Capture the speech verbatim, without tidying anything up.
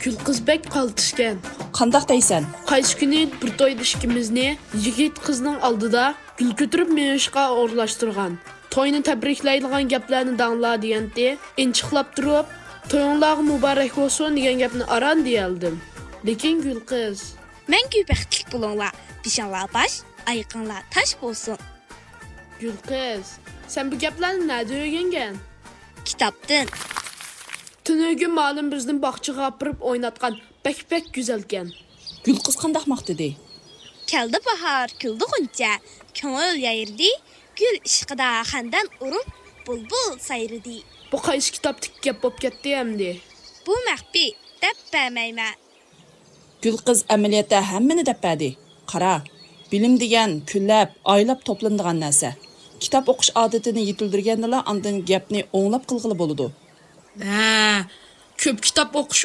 گۈلقىز بەك قالتىسكەن. قانداق دەيسەن؟ قايسى كۈنى بىر تويدا ئىككىمىزنى يىگىت قىزنىڭ ئالدىدا گۈل كۆتۈرۈپ مېڭىشقا ئورۇنلاشتۇرغان. توينى تەبرىكلەيدىغان گەپلەرنى دەڭلار دېگەنتى. ئىنچىقلاپ تۇرۇپ، تويۇڭلارغا مۇبارەك بولسۇن دېگەن گەپنى ئاران دېيەلدىم. لېكىن گۈلقىز. مەڭگۈ بەختلىك بولۇڭلار، بېشىڭلار باش، ئايىقىڭلار تاش بولسۇن. گۈلقىز، سەن بۇ گەپلەرنى نەدە ئۆگەنگەن؟ كىتابتىن. تۈنۈگۈن مالىم بىزنى باغچىغا ئاپىرىپ ئويناتقان، بەك بەك گۈزەلكەن. گۈلقىز قانداق ماختىدى؟ كەلدى باھار، كۈلدى غۇنچە، كۆڭۈل يايرىدى، گۈل ئىشقىدا خەندان ئۇرۇپ، بۇلبۇل سايرىدى. بۇ قايسى كىتابتىكى گەپ بولۇپ كەتتى ئەمدى؟ بۇ مەخپىي، دەپ بەرمەيمەن. گۈلقىز ئەمەلىيەتتە ھەممىنى دەپ بەردى. قارا، بىلىم دېگەن كۈنلەپ، ئايلاپ توپلىنىدىغان نەرسە. كىتاب ئوقۇش ئادىتىنى يېتىلدۈرگەندىلا ئاندىن گەپنى ئوڭلاپ قىلغىلى بولىدۇ. ھە، كۆپ كىتاب ئوقۇش